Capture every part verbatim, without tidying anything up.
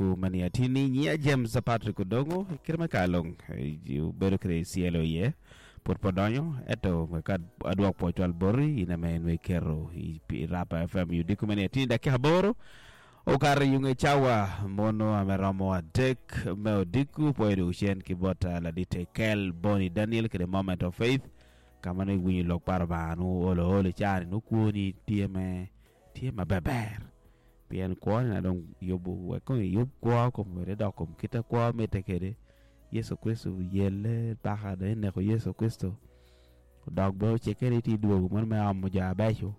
Odiku mani atini nyia James Patrick Odongo kire me kalong bedo kire C L O ye pud podonyo eto ka adwok po chwal bori ina me nwe kero i Rapa F M Odiku mani atini dakika aboro okaro yunge chawa mono ameromo adek me Odiku poedo uchen ki bota ladite Kel Boni Daniel kire Moment of Faith kama ne winyo lok paro banu olo olo chani nukuoni tie me tie maber pien kwoni na dong yubu weko yub kwo kom wede dok kom kita kwo mite kede Yesu Kristo yele paka de neko Yesu Kristo dok be ochekere ti duogo mon me amo jo abeco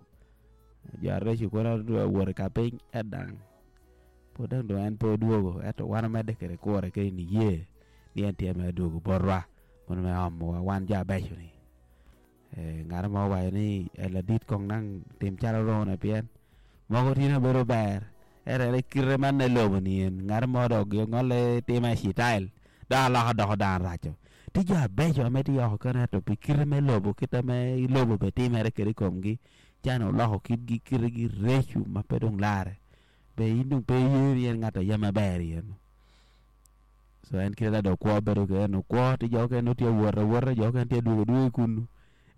jo areco kono wuoto ka piny edang pod dong dong en pe oduogo eto wan omedde kede kure kede ni ye ni en tye me duogo botwa mon me amo wa wan jo abeco ni ng'ato mo owaco ni ladit kong nang tim calo rone pien moko tye na bedo ber ere kite man ne lobo ni en ng'ato mo dok ngole time citail dok aloko doko dano raco ti jo abeco ame ti oko kene to pi kite me lobo kite me lobo be timere kede komgi cano oloko kitgi kitegi reco ma pe dong lare be in dong pe iye ni en ng'ato aye maber yen so en kite da dok kwo bedo kede no kwo ti jo okene tye awota awota jo okene tye aduogo aduoga kunu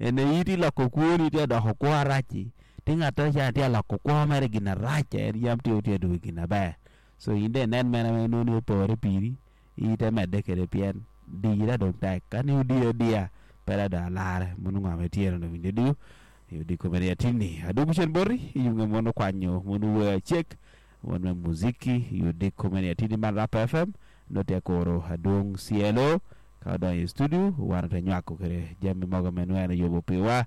ene iti loko kwoni tye adoko kwo araci ti ng'ato ca tye aloko kwo mere gin arac en yam tye tye aduogo gin aber so in de inen mene me noni opore piri ite medde kede pien diyi da dong tek ka ni odiyo adiya pe da dong alare mono ng'ama itye no winjo diyo odiko mene atini aduogo cen boti iyunge mono kwanyo mono wer acek mon me muziki odiko mene atini man Rapa F M note akoro adwong C L O ka odonyo i studio wan ote nywako kede jami mogo me nweno yubo piwa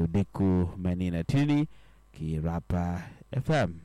odiko menina atini ki Rapa F M.